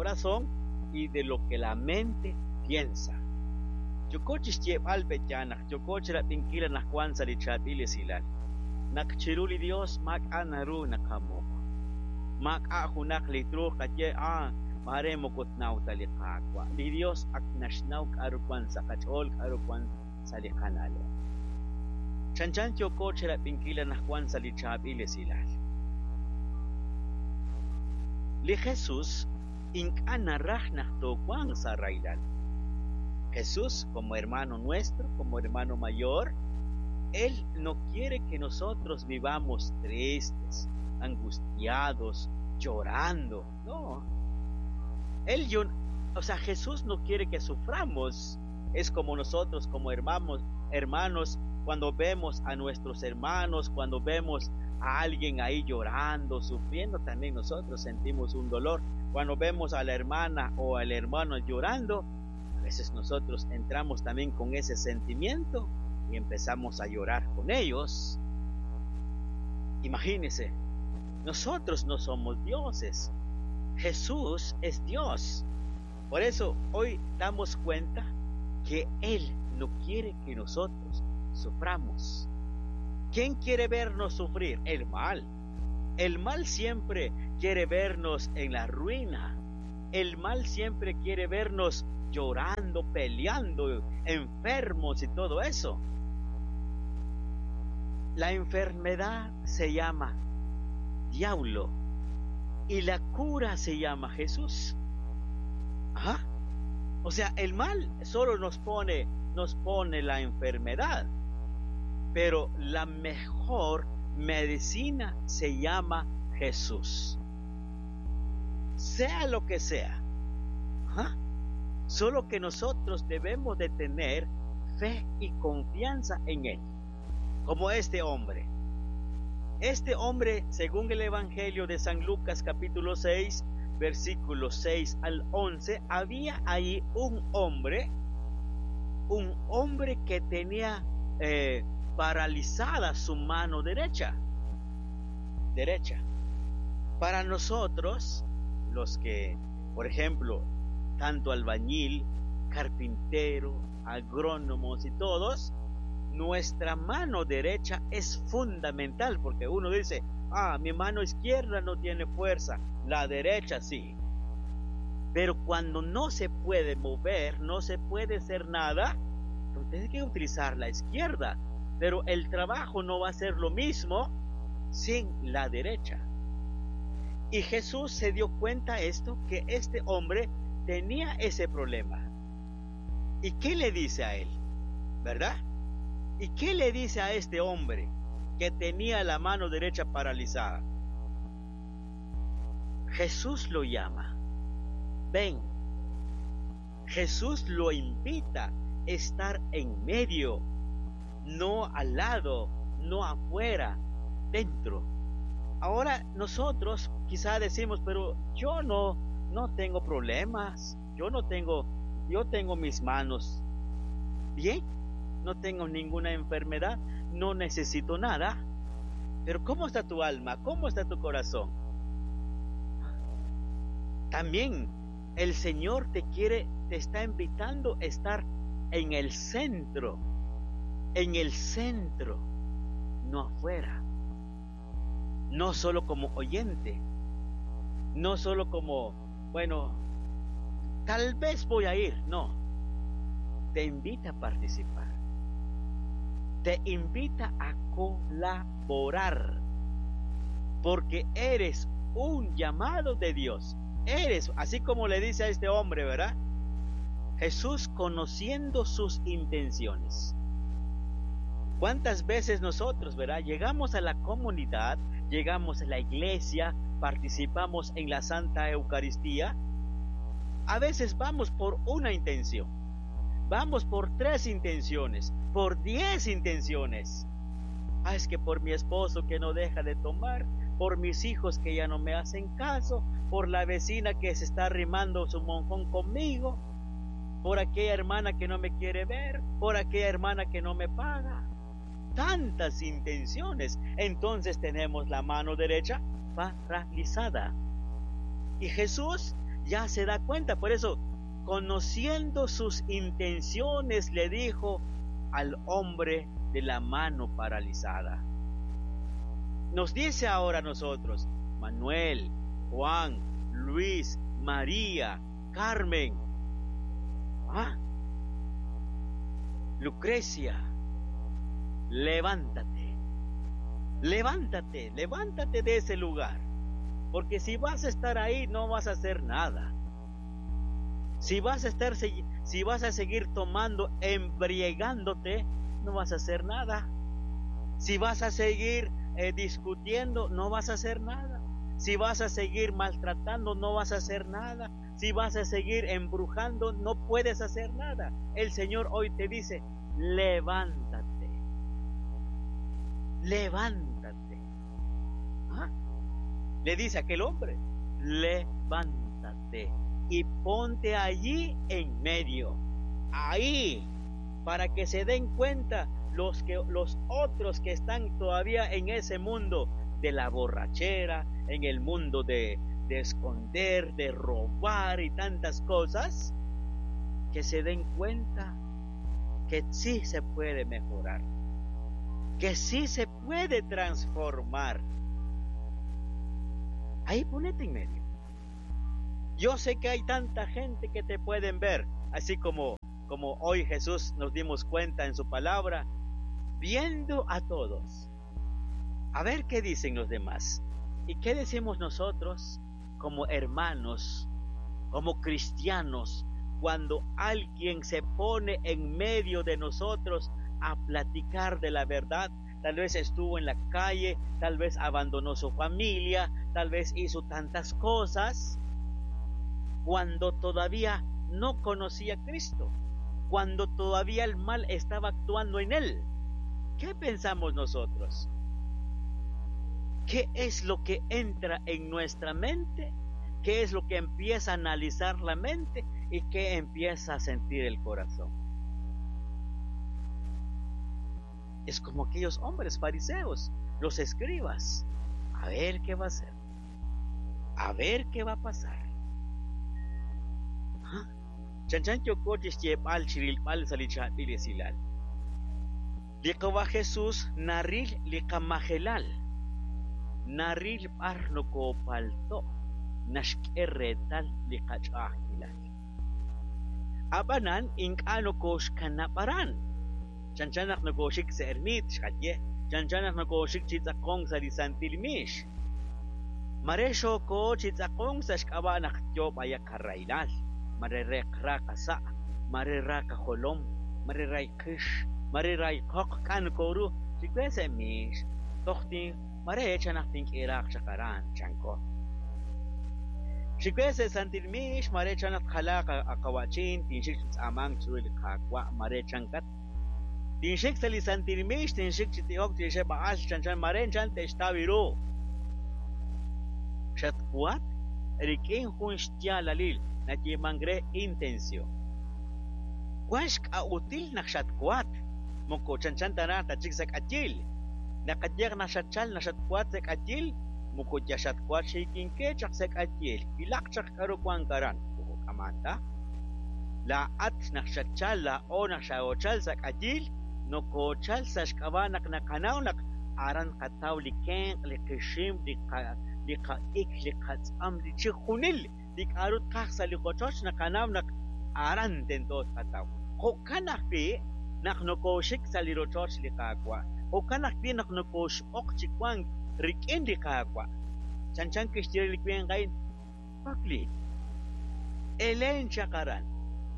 corazón y de lo que la mente piensa. Yooko chixyeeb'al pe'yaal naq yooko chirab'inkil anaqwan sa' li chaab'il esilal. Naq chiru li Dios maak'a' naru naqamuq. Maak'a' junaq li truuq qaye, ah, maare moko tnaw ta li Qaawa'. Li Dios ak naxnaw k'a'ru wan sa' qach'ool, k'a'ru wan sa' li qana'leb'. Chanchan yooko chirab'inkil anaqwan sa' li chaab'il esilal. Li Jesus ink'a' naraj naq toowanq sa' rahilal. Jesús, como hermano nuestro, como hermano mayor, Él no quiere que nosotros vivamos tristes, angustiados, llorando. No. Él, yo, o sea, Jesús no quiere que suframos. Es como nosotros, como hermanos, hermanos, cuando vemos a nuestros hermanos, cuando vemos a alguien ahí llorando, sufriendo, también nosotros sentimos un dolor. Cuando vemos a la hermana o al hermano llorando, a veces nosotros entramos también con ese sentimiento y empezamos a llorar con ellos. Imagínense, nosotros no somos dioses. Jesús es Dios. Por eso hoy damos cuenta que Él no quiere que nosotros suframos. ¿Quién quiere vernos sufrir? El mal. El mal siempre quiere vernos en la ruina. El mal siempre quiere vernos llorando, peleando, enfermos y todo eso. La enfermedad se llama diablo y la cura se llama Jesús. Ajá. O sea, el mal solo nos pone la enfermedad, pero la mejor medicina se llama Jesús. Sea lo que sea. Ajá. Solo que nosotros debemos de tener fe y confianza en Él, como este hombre. Este hombre, según el Evangelio de San Lucas capítulo 6, versículos 6 al 11, había ahí un hombre que tenía paralizada su mano derecha. Derecha. Para nosotros, los que, por ejemplo, tanto albañil, carpintero, agrónomos y todos, nuestra mano derecha es fundamental, porque uno dice, ah, mi mano izquierda no tiene fuerza, la derecha sí. Pero cuando no se puede mover, no se puede hacer nada, entonces tiene que utilizar la izquierda. Pero el trabajo no va a ser lo mismo sin la derecha. Y Jesús se dio cuenta esto, que este hombre tenía ese problema. ¿Y qué le dice a él? ¿Verdad? ¿Y qué le dice a este hombre que tenía la mano derecha paralizada? Jesús lo llama. Ven. Jesús lo invita a estar en medio, no al lado, no afuera, dentro. Ahora nosotros quizá decimos, pero yo no tengo problemas, yo no tengo, yo tengo mis manos bien, no tengo ninguna enfermedad, no necesito nada. Pero ¿cómo está tu alma? ¿Cómo está tu corazón? También el Señor te quiere, te está invitando a estar en el centro, en el centro, no afuera. No solo como oyente, no solo como, bueno, tal vez voy a ir, no. Te invita a participar. Te invita a colaborar, porque eres un llamado de Dios. Eres, así como le dice a este hombre, ¿verdad? Jesús conociendo sus intenciones. ¿Cuántas veces nosotros, verdad? Llegamos a la comunidad, llegamos a la iglesia, participamos en la Santa Eucaristía. A veces vamos por una intención, vamos por 3 intenciones, por 10 intenciones. Ah, es que por mi esposo que no deja de tomar, por mis hijos que ya no me hacen caso, por la vecina que se está arrimando su monjón conmigo, por aquella hermana que no me quiere ver, por aquella hermana que no me paga. Tantas intenciones. Entonces tenemos la mano derecha paralizada. Y Jesús Ya se da cuenta, por eso, conociendo sus intenciones, le dijo al hombre de la mano paralizada. Nos dice ahora a nosotros, Manuel, Juan, Luis, María, Carmen, Lucrecia, levántate, levántate, levántate de ese lugar, porque si vas a estar ahí no vas a hacer nada. Si vas a estar, si vas a seguir tomando, embriagándote, no vas a hacer nada. Si vas a seguir discutiendo, no vas a hacer nada. Si vas a seguir maltratando, no vas a hacer nada. Si vas a seguir embrujando, no puedes hacer nada. El Señor hoy te dice, levántate. Levántate. ¿Ah? Le dice aquel hombre, levántate y ponte allí en medio. Ahí, para que se den cuenta los otros que están todavía en ese mundo de la borrachera, en el mundo de esconder, de robar y tantas cosas, que se den cuenta que sí se puede mejorar, que sí se puede transformar. Ahí ponete en medio. Yo sé que hay tanta gente que te pueden ver, así como hoy Jesús nos dimos cuenta en su palabra, viendo a todos. A ver qué dicen los demás. ¿Y qué decimos nosotros como hermanos, como cristianos, cuando alguien se pone en medio de nosotros a platicar de la verdad? Tal vez estuvo en la calle, tal vez abandonó su familia, tal vez hizo tantas cosas, cuando todavía no conocía a Cristo, cuando todavía el mal estaba actuando en él. ¿Qué pensamos nosotros? ¿Qué es lo que entra en nuestra mente? ¿Qué es lo que empieza a analizar la mente? ¿Y qué empieza a sentir el corazón? Es como aquellos hombres fariseos, los escribas. A ver qué va a hacer. A ver qué va a pasar. Chanchan yokochis yepal chirilpal salichabil esilal. Liqawa Jesús naril liqamajelal. Naril parno palto nashkerretal liqach'ajilal. Abanan ink'ano koxkanaparan. Chanchanaq no koxik se ermit xqaye. Chanchanaq no koxik chitzaqon salisantilmish. Maresho ko chitzaqon sa xk'abanaq tyob ayaqarrailal. Marereq raqasa, mareraqa jolom, marerayqish, marerayqoq kan koru, chikwese mish, tohtin, marechanaq tink'iraq chaqaran chanko. Chikwese santilmish, marechanaq jalaqa aqawachin, tinxik tz'amang churil qaqwa, marechankat. Tinxik salisantilmish, tinxik chitiok, tinxik ba'al chanchan marenchan textabiru. Xatkuat, rikin jun xtialalil. Nachimangre intención. Kuashk a util naxatkuat. Moko chanchantana tachik atil. Nakatiak naxachal naxatkuat sek atil. Moko yashatkuat shikinke chak sek atil. Ilak chak karukuankaran. Kamanta. La at naxachal la o naxaochal sek atil. No kochal sashkabanak nakanaunak. Aran kataw liken likishim likaik likatzam lichijunil. Likarut kah sa likochoch nakanaw nak aran tento kataw. Hokanakpi nak nokoshik sa lirochoch likakwa. Hokanakpi nak nokoshok chikwang rikin likakwa. Chanchan kishtiri likwen gain pakli. Elen chakaran.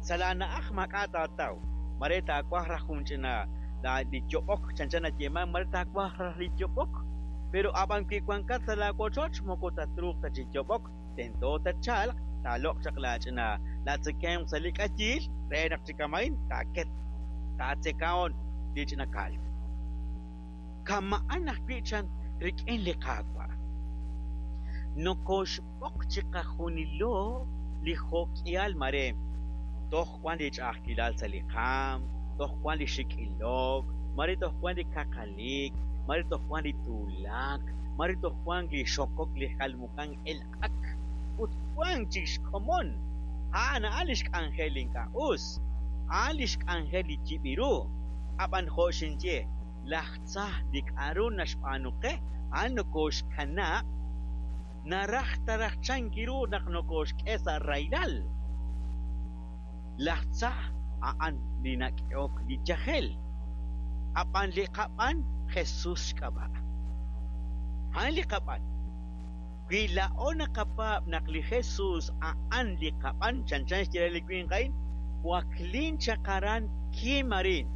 Salana ah makatataw. Mareta akwah rahunchina la lichopok chanchan atyeman mareta akwah lichopok. Pero abang kikwangkat sa lakochoch mokotatruk ta chichopok. Tento tachal, talok chaklach na latsekem salikachil, renak chikamain, taket, tatsekaon, lichnakal. Kamaanak pichan, rikin likagwa. Nokoshpok chikajunilo, lihokial mare. Toh kwan lichakilal salikam, toh kwan lishikilok, mare toh kwan likakalik, mare toh kwan litulak, mare toh kwan lishokok lihalmukan el ak. ut wank chik xkomon. A'an a'an li xk'anjel li ink'a' us. A'an li xk'anjel li yib' ru. Ab'an jo' xinye, laj tza li k'aru naxb'aanu qe, a'an nokooxkanab', naraj ta raj chank ru naq nokooxk'e sa' rahilal. Laj tza a'an li nak'ehok li yajel. Ab'an li qab'an Jesús xk'ab'a'. A'an li qab'an. Wi laa'o naqapaab' naq li Jesús a'an li qab'an, chanchan xye re li winq a'in, waklin chaq aran kim arin,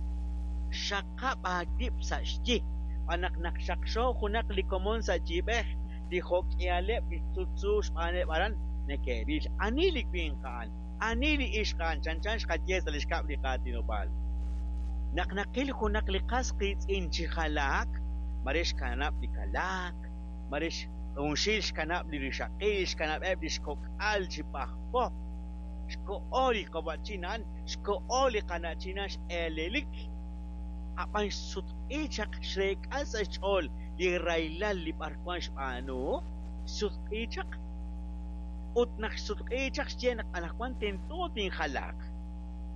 xaqab' aawib' sa' xyi. Xb'aan naq naq xaqxo junaq li komon sa' yiib'ej, li jo'k'ihaleb' li sutsu xb'aaneb' aran neke'ril ani li winq a'an, ani li ixq a'an, chanchan xqaye sa' li xkab' li qaatinob'aal. Naq naqil junaq li qas qiitz'in chi jalaak, mare xkanab' li kalaak, mare junxil xkanab' li rixaqil, xkanab'eb' li xkok'al chi pajpo, xko'o li qawa'chin a'an, xko'o li qana'chin a'an x'eelelik, ab'an xsutq'i chaq xreek'a sa' xch'ool li rahilal li b'arwan xb'aanu, xsutq'i chaq. Ut naq xsutq'i chaq xye naq anaqwan tento tinjalaaq.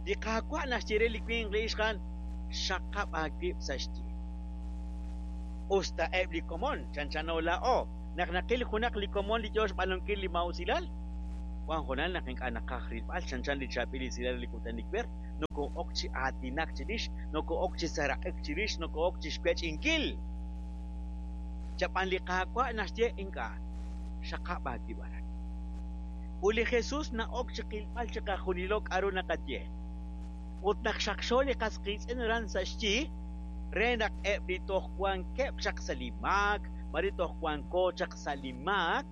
Li Qaawa' naxye re li winq li ixq a'an, xaqab' aawib' sa' xyi. Usta eb' li komon chanchano laa'o, naq naqil junaq li komon li yo xb'aanunkil li maa'usilal, wan hoonal naq ink'a' naqaj rilb'al chanchan li chaab'il esilal li kutan iwer, nokoo'ok chi aatinak chirix, nokoo'ok chi seeraq'ik chirix, nokoo'ok chi xwech'inkil. Chab'an li Qaawa' naxye ink'a', xaqab' aawib' aran. Ut li Jesús na'ok chi qilb'al chiqajunilo k'aru naqaye. Ut naq xaqxo li qas qiitz'in aran sa' xyi, re naq eb' li toj wankeb' chaq sa' li maak, mare toj wanko chaq sa' li maak,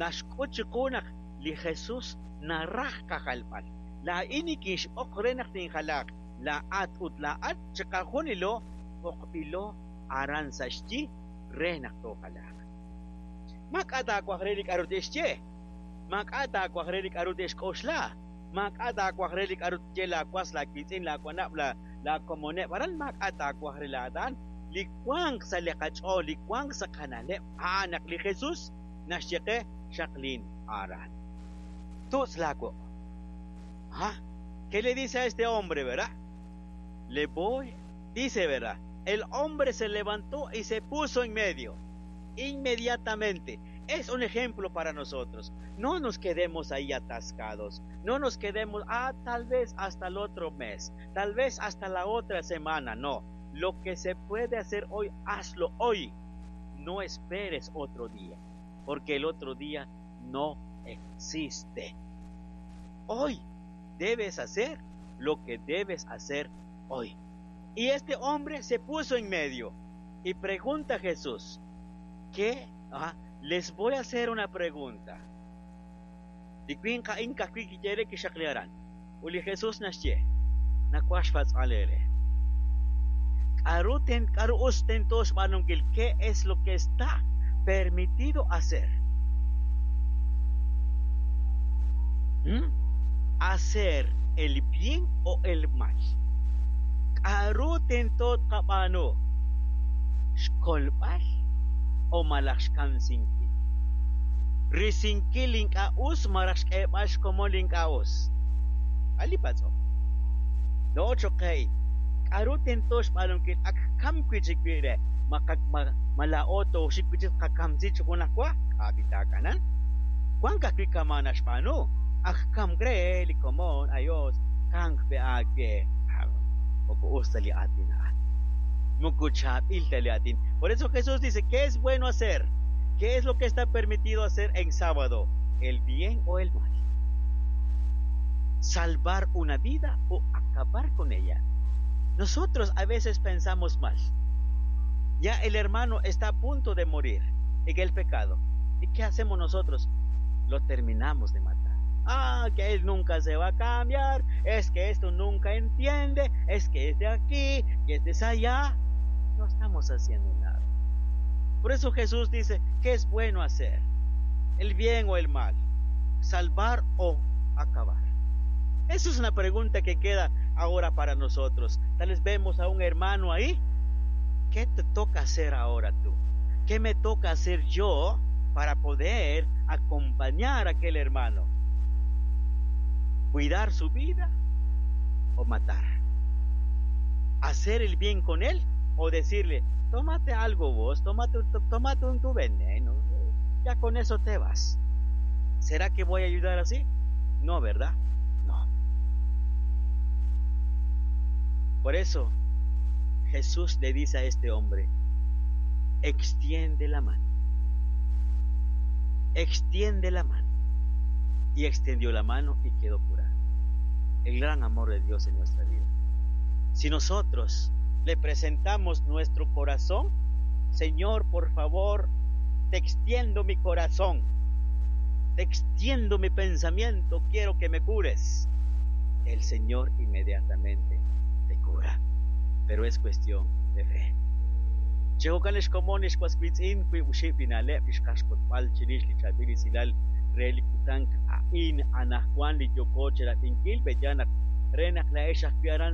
naxk'ut chiqu naq li Jesús naraj qajalb'al. Laa'in nikinxb'oq re naq tinjalaaq. Laa'at ut laa'at chiqajunilo b'oqb'ilo aran sa' xyi re naq toojalaaq. Maak'a' taawaj re li k'aru te'xye. Maak'a' taawaj re li k'aru te'xk'oxla. Maak'a' taawaj re li k'aru tye laawas, laawiitz'in, laawanab', laakomoneb' aran. Maak'a' taawaj re laa'at a'an. Li wanq sa' li qach'ool, li wanq sa' qana'leb', a'an naq li Jesús naxye qe xaqlin aran. Tutz' laawuq'. ¿Ah? ¿Qué le dice a este hombre, verdad? Le voy, dice, ¿verdad? El hombre se levantó y se puso en medio. Inmediatamente. Es un ejemplo para nosotros. No nos quedemos ahí atascados. No nos quedemos, tal vez hasta el otro mes, tal vez hasta la otra semana. No, lo que se puede hacer hoy, hazlo hoy. No esperes otro día, porque el otro día no existe. Hoy debes hacer lo que debes hacer hoy. Y este hombre se puso en medio y pregunta a Jesús, ¿qué? Ah, les voy a hacer una pregunta. Li winq a'in ka'ajwi' kiyere kixaqli aran. Ut li Jesús naxye, nawaj xpatz'b'al eere. K'aru ten k'aru us tento xb'aanunkil? ¿Qué es lo que está permitido hacer? ¿Mm? Hacer el bien o el mal. K'aru tento tqab'aanu? Xkolb'al o malaj xkamsinkil? Risinkil li ink'a' us malaj xk'eeb'al xkomon li ink'a' us? A' li patz'om. Laa'o cho'q qe a'in. K'aru tento xb'aanunkil? Ak kamk wi' chik wi' re. Ma ma laa'o tooxik wi' chik tqakamsi chi junajwa? K'a' b'i taak'anan? Wank ajwi' kama' naxb'aanu. Ak kamk re li komon, ayos, kamk pe aawe. Moko us ta li aatin a'an. Moko chaab'il ta li aatin. Por eso Jesús dice, ¿qué es bueno hacer? ¿Qué es lo que está permitido hacer en sábado? ¿El bien o el mal? ¿Salvar una vida o acabar con ella? Nosotros a veces pensamos mal. Ya el hermano está a punto de morir en el pecado. ¿Y qué hacemos nosotros? Lo terminamos de matar. Ah, que él nunca se va a cambiar, es que esto nunca entiende, es que es de aquí, que es de allá. No estamos haciendo nada. Por eso Jesús dice, ¿qué es bueno hacer? ¿El bien o el mal? ¿Salvar o acabar? Esa es una pregunta que queda ahora para nosotros. Tal vez vemos a un hermano ahí. ¿Qué te toca hacer ahora tú? ¿Qué me toca hacer yo para poder Acompañar a aquel hermano. Cuidar su vida o matar. Hacer el bien con él o decirle, tómate algo vos, tómate, tómate un tu veneno, ya con eso te vas. ¿Será que voy a ayudar así? No, ¿verdad? No. Por eso Jesús le dice a este hombre, extiende la mano. Extiende la mano. Y extendió la mano y quedó curado. El gran amor de Dios en nuestra vida. Si nosotros le presentamos nuestro corazón, Señor, por favor, te extiendo mi corazón, te extiendo mi pensamiento, quiero que me cures. El Señor inmediatamente te cura, pero es cuestión de fe. Jo'kan lix komon lix was wiitz'in wiib' oxib' li na'leb' li xqaxk'utb'al chirix li chaab'il esilal re li kutan a'in anaqwan li yooko chirab'inkil pe'yaal naq re naq laa'ex ajwi' aran.